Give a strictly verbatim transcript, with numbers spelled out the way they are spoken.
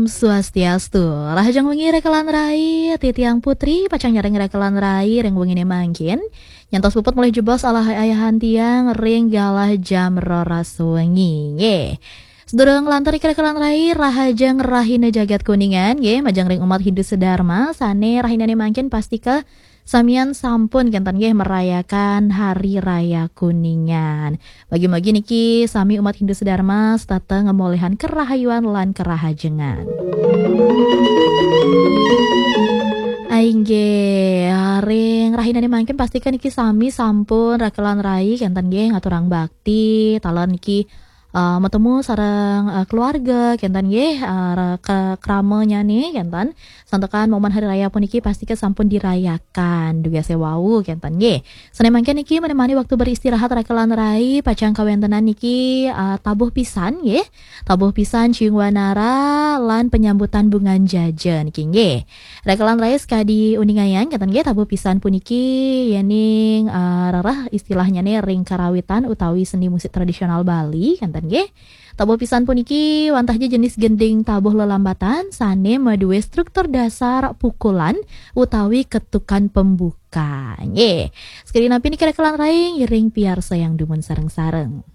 Swastiastu. Rahajeng wengi rekelan rai, titiang Putri pacang nyareng rekelan rai ring wengine mangkin. Nyantos puput malih jebos alah ayahan tiang ring galah jam roras wengi. Nggih. Sedurung nglantur ring rekelan rai, rahajeng rahina jagat Kuningan nggih, majeng ring umat Hindu sedharma sane rahinane mangkin pastika samian sampun kenten nggih merayakan Hari Raya Kuningan. Bagi-bagi niki sami umat Hindu sedharma setata ngemolihang kerahayuan lan kerahajengan. Inggih, ring rahinane mangkin pastika niki sami sampun rekelan rai kenten nggih ngaturang bakti, taler niki eh, matemu sareng eh, keluarga kenten nggih, eh, ra- ke kramanyane kenten. Santukan momen hari raya puniki pastika sampun dirayakan dugasé wau kenten nggih. Sane mangkin niki menemani waktu beristirahat rekelan rai pacang kawentenan niki eh, tabuh pisan nggih. Tabuh pisan ciung wanara lan penyambutan bungan jaja niki nggih. Rekelan rai sakadi uningayang kenten nggih, tabuh pisan puniki yening eh, rereh istilahnyane ring karawitan utawi seni musik tradisional Bali kenten nggih. Tabuh pisan puniki wantah ja jenis gending tabuh lelambatan sane madue struktur dasar pukulan utawi ketukan pembuka. Nggih. Sekadi napi niki rekelan rai ngiring piarsayang dumun sareng-sareng.